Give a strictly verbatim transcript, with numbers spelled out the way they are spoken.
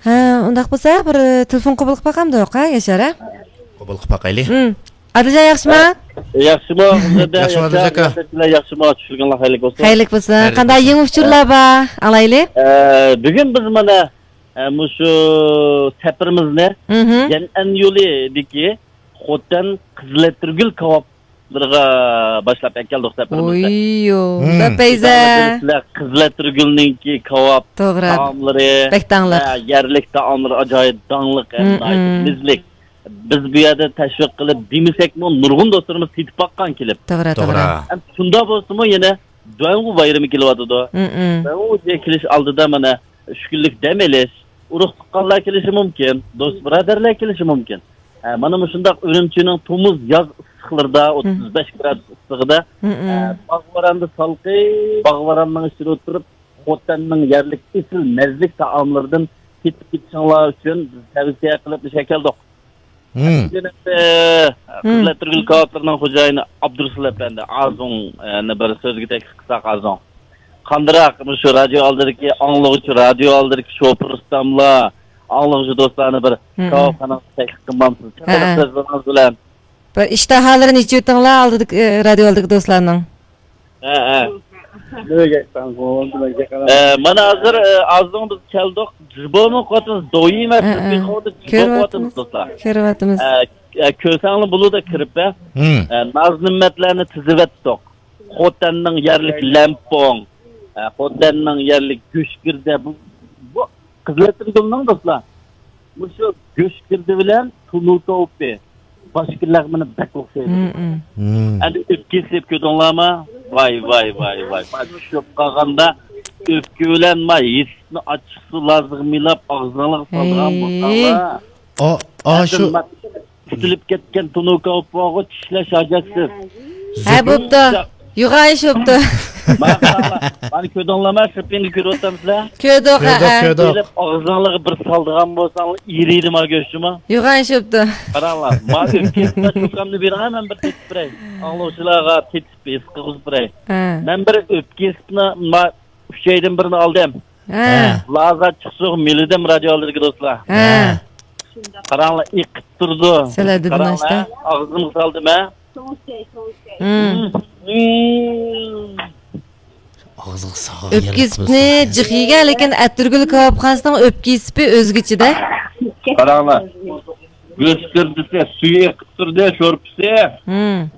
ھە، ئۇنداق بولسا بىر، ئە، تېلېفون قوبۇل قىلىپ باقامدۇق، ھە، ياشار، ھە؟ قوبۇل قىلىپ باقايلى. ھىم. ئادىلجان ياخشىما؟ ياخشىما، ياخشىما، ئادىلجان ئاكا. ياخشىما، چۈشلۈكۈڭلار خەيرلىك بولسۇن. خەيرلىك بولسۇن. خەيرلىك قانداق بولسۇن. يېڭى ئۇچۇرلار بار؟ ئاڭلايلى. ئە، بۈگۈن بىز مانا، ئە، مۇشۇ سەپىرىمىزنى مھم. يەنئەن يولىدىكى خوتەن قىزىلئەتىرگۈل كاۋاپلىرىغا باشلاپ ئەكەلدۇق سەپىرىمىزنى. ئوييو، مم. بەپەيزە. سىلەر قىزىلئەتىرگۈلنىڭكى كاۋاپ توغرا. تائاملىرى، بەك داڭلىق. ھە، يەرلىك تائاملىرى ئاجايىپ داڭلىق، ھەم مم، ناھايىتى مم. مىزلىك. بىز بۇ يەردە تەشۋىق قىلىپ دېمىسەكمۇ، نۇرغۇن دوستلىرىمىز تېتىپ باققان كېلىپ. توغرا، توغرا. توغرا. ھەم شۇنداق بولسىمۇ، يەنە دۇەنغۇ بايرىمى كېلىۋاتىدۇ. مم، مم. دۇەنغۇ كېلىش ئالدىدا مانا ئۈچ كۈنلۈك دەم ئېلىش، ئۇرۇق تۇغقانلار كېلىشى مۇمكىن، دوست بۇرادەرلەر كېلىشى مۇمكىن. ھە، مانا مۇشۇنداق ئۈرۈمچىنىڭ تومۇز، ياز ئىسسىقلىرىدا، مم. ئوتتۇز بەش گرادۇس ئىسسىقىدا، مم، ھە، مم. باغ-ۋاراندا سالقىن، باغ-ۋاراننىڭ ئىچىدە ئولتۇرۇپ، خوتەننىڭ يەرلىك ئېسىل مەززىلىك تائاملىرىدىن تېتىپ كېتىشىڭلار ئۈچۈن بىز تەۋسىيە قىلىپ مۇشۇ يەرگە كەلدۇق. مم. بۈگۈن ئەمدى، مم. قىزىل ئەتىرگۈل كاۋاپلىرىنىڭ خوجايىنى ئابدۇرۇسۇل ئەپەندى ئازۇڭنى بىر سۆزگە تەكلىپ قىلساق، ئازۇڭ. قاندىراق، مۇشۇ رادىيو ئالدىدىكى ئاڭلىغۇچى، رادىيو ئالدىدىكى شوپۇر ئۇستاملار، ئاڭلىغۇچى دوستلارنى بىر مم. كاۋاپخانىغا تەكلىپ قىلمامسىز؟ ھە. چىقىرىپ سۆزلىرىڭىز بىلەن. بىر ئىشتىھالىرىنى ئېچىۋېتىڭلار ئالدىدىكى، ئە، رادىيو ئالدىدىكى دوستلارنىڭ. ھە، ھە. ئە، مانا ھازىر، ئە، ئازدىن بىز كەلدۇق. جىبومۇ قوتىمىز، دويى ئەمەس، ھە، ھە. بىز بىخوردا جىبو قوتىمىز، دوستلار. كۆرۈۋاتىمىز. ئە، ئە، كۆرسەڭلار بولىدۇ كىرىپ، ھە. ھىم. ئە، ناز نېمەتلەرنى تىزىۋەتتۇق. خوتەننىڭ يەرلىك لەمپوڭ، ئە، خوتەننىڭ يەرلىك گۆشگىردە، بۇ، بۇ قىزىل ئەتىرگۈلنىڭ دوستلار. مۇشۇ گۆشگىردە بىلەن تونۇر كاۋىپى باشقا لەغمىنى بەك ئوخشايدۇ. مم، مم. مم. ئەمدى ئۆپكە يېسىپ كۆردۈڭلارمۇ؟ ۋاي، ۋاي، ۋاي، ۋاي. ما چۈشۈپ قالغاندا ئۆپكە بىلەن ما يېسىپنى ئاچچىقسۇ لازىغا مىلاپ ئاغزىڭلارغا سالىدىغان ھەي. بولساڭلار. ئا، ئا، ئەمدى شۇ ما تۈتۈلۈپ كەتكەن تونۇر كاۋىپىغا چىشلەش ھاجەتسىز. ھە، بوپتۇ. يوغان ئىش بوپتۇ. مانا قاراڭلار، مانا كۆردۈڭلارمۇ، سىرتىڭدا كۆرۈۋاتامسىلەر؟ كۆردۇق، كۆردۇق، ھە، ھە. كۆردۇق. ئېلىپ ئاغزىڭلارغا بىر سالىدىغان بولساڭلار، ئېرىيدۇ ما گۆشىمۇ. يوغان ئىش بوپتۇ. قاراڭلار، ما ئۆپكە يېسىپلا چوكامنى بېرىڭە، مەن بىر تېتىپ بېرەي. ئاڭلىغۇچىلارغا تېتىپ ھېس قىلغۇزۇپ بېرەي. ھە. مەن بىر ئۆپكە يېسىپلا، ما ئۈچەيدىن بىرنى ئالدىم. ھە. ھە. لازا چىقسۇق مىلىدىم رادىيو ئالدىدىكى دوستلار. ھە. ھە. قاراڭلار، ئېقىپ تۇرىدۇ. سەلەدىدىن قاراڭلار، ئاشتا. ئاغزىمغا سالدىم، ھە. مم. مم. ئاغزىغا سالغان ئۆپكە يېسىپنى جىق يېگەن، لېكىن ئەتىرگۈل كاۋاپخانىسىنىڭ ئۆپكە يېسىپى ئۆزگىچىدە. قاراڭلار. گۆش گىردىسى سۈيى ئېقىپ تۇردى، شورپىسى. مم.